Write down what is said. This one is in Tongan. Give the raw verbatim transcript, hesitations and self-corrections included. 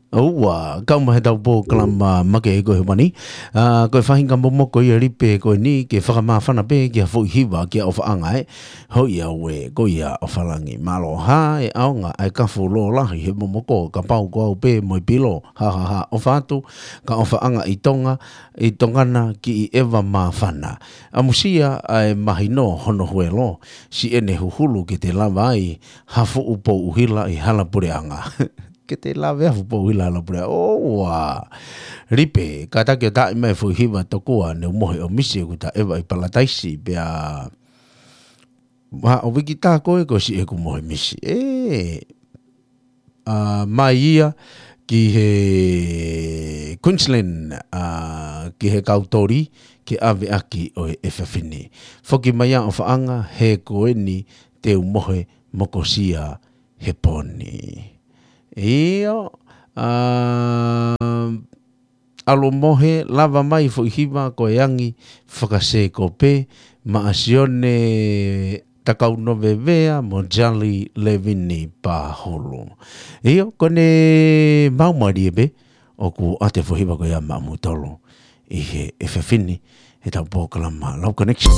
ʻOua, kau mai he tau polokalama make ko e hemani. Ā, ko e faʻahinga momoko ia Lipe ko eni ke fakamāfana pē ki ha foʻi hiva ki ha ʻofaʻanga ē. Hoi au ē, ko ia ʻofalangi. Mālō hā e ʻaonga ʻa e kafu lōlahi he momoko, kapau ko au pē mo e pilo. Ha, ha, ha, ʻofa atu, ka ʻofaʻanga ʻi Tonga, ʻi Tonga na ki ʻi ʻeva māfana. ʻAmusia ʻa e mahino hono huelo, siʻene huhulu ke te lava ai ha fuʻu pou ʻuhila ʻi hala puleʻanga. Ke te lava ai ha fuʻu pou ʻuhila hala puleʻanga. ʻOua. Lipe, kātaki ʻo taaʻi mai foʻi hiva tokua, ne u mohe ʻo misi ʻeku taʻeva ʻi Palataisi, pea ʻa ʻo wiki tā koe ko siʻeku mohe misi. ʻE, ā, mai ia ki he Queensland, ā, ki he kau toli, ke ʻave ʻaki ʻo e efiafi ni. Foki mai ā ʻofaʻanga, he ko eni te u mohe mokosia he pō ni. ʻIo, ā, ʻalu mohe, lava mai foʻi hiva ko e angi fakasēkope, maʻa Sione Takaunovevea mo Jali Levini Pahulu. ʻIo, ko ʻene maumali ē pē, ʻoku ʻoatu e foʻi hiva ko ia maʻa moutolu ʻi he efiafi ni, he tau polokalama Love Connection.